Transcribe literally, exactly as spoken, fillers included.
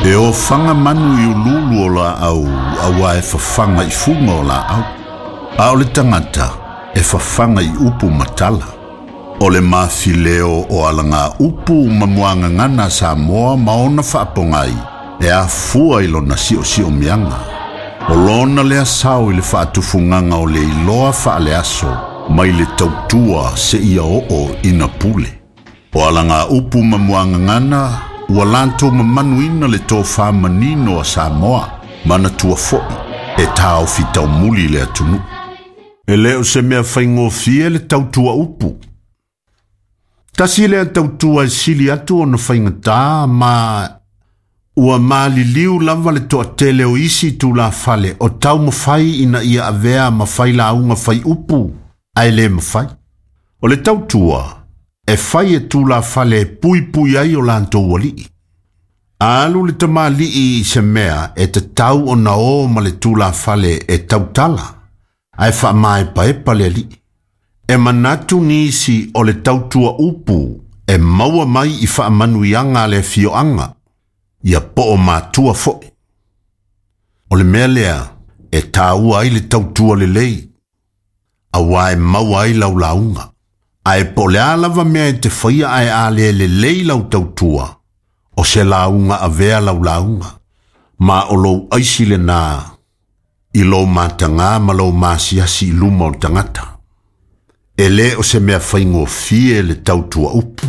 E ofaga manu i ululu o laau auā e fafaga i fuga o laau. A o le tagata e fafaga i upu ma tala. O le mafileo o alaga upu ma muagagana a Samoa ma ona faapogai e afua i lona siosiomiaga. O lona lea sao i le faatufugaga o le iloa faaleaso mai le tautua seia oo ina pule. O alaga upu ma muagagana ua latou mamanuina le tofā manino a Samoa manatua fo'i e taofi taumuli le atunuu. E lē o se mea faigofie le tautua upu. Tasi lea tautua e sili atu ona faigatā ma ua maliliu lava le toatele o isi tulafale o taumafai ina ia avea ma failauga fai upu ae lē mafai. O le tautua e fai e tulafale e puipui ai o latou alii. A alu le tamalii i se mea e tatau ona o ma le tulafale e tautala, ae faamaepaepa le alii. E manatu nisi o le tautua upu e maua mai i faamanuiaga a le afioaga, ia po o matua fo'i. O le mea lea e tāua ai le tautua lelei, auā e maua ai lau lauga. Ae po o le a lava mea e te faia ae a le lelei lau tautua, o se lauga avea lau lauga, ma o lou aisi lenā i lou matagā ma lou masiasi i luma o le tagata. E lē o se mea faigofie le tautua upu.